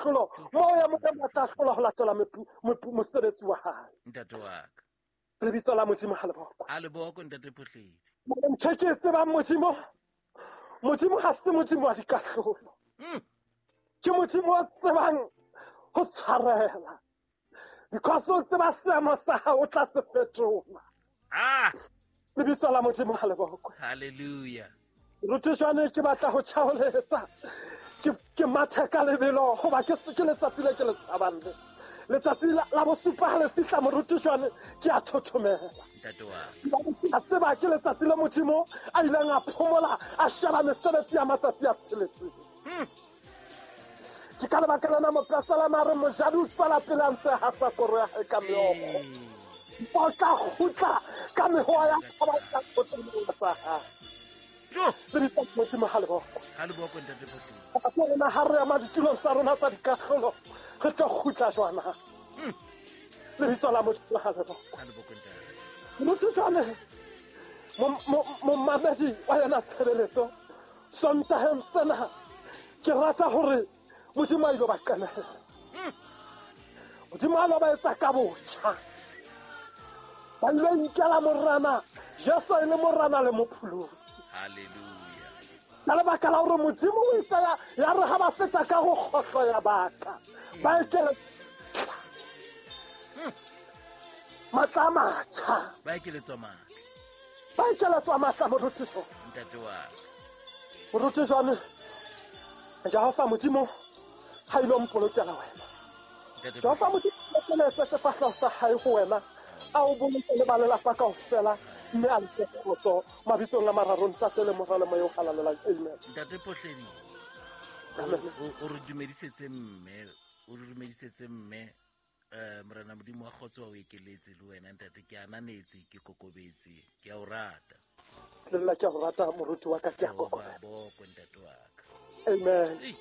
Tlolo moya Modimo a tla hlola ho latela mosebetsi wa hae. Ntate wa ka. Lebitso la Modimo ha le bokwe. A le bokwe, ntate Phohledi. Ntho e ke e tsebang, Modimo, Modimo ha se Modimo wa dikahlolo. Ke Modimo o tsebang ho tshwarela. Because o tseba seemo sa hao, o tla se fetola. Lebitso la Modimo ha le bokwe. Hallelujah. Ruti jwane ke batla ho tjhaoletsa. Ke mathe ka lebelo hoba ke letsatsi le ke le tshabang le. Letsatsi la bosupa ha le fihla, moruti jwane ke a thothomela. Ntate wa. A tseba ke letsatsi le Modimo a ileng a phomola, a sheba mesebetsi ya matsatsi a tsheletseng. Ke ka lebaka lena mopesalema a re mojadi o tswela pele a ntse hasa koro ya hae ka meokgo. O tla kgutla ka mehoa ya thaba ya tsa hae. Lebitso la Modimo ha le bokwe. Ha le bokwe, ntate Phohledi. Ke rona ha re ema ditulong tsa rona tsa dikahlolo, re tlo kgutla jwana. Lebitso la Modimo ha le bokwe. Ha le bokwe, ntate. Motho jwale, momamedi wa yena tshebeletso, Sontaheng sena ke rata hore Modimo a ilo ba qenehela. Modimo a lo ba etsa ka botjha. Ba ilo inkela Morena Jesu e le Morena le Mopholosi. Hallelujah. Ka lebaka la hore Modimo o itse ya re ha ba feta ka go kgohlo ya baka, ba ekele matla a matjha. Ba ekeletswa matla. Ba ekeletswa matla, morutiso. Ntate wa ka. Moruti jwane, Jehova Modimo ha ilo mpolokela wena. Jehova Modimo a sefahleho sa hae ho wena, a o boloke le ba lelapa kaofela, mme a le fe kgotso mabitsong a mararo, Ntate le Mora le Moya o Halalelang. Amen. Ntate Phohledi, o re dumedisetse mme, o re dumedisetse mme. Morena Modimo wa kgotso wa o ekeletse le wena ntate. Ke ananetse, ke kokobetse, ke a o rata. Le nna ke a o rata, moruti wa ka, ke a kokobela. Bokwe, ntate wa ka. Amen.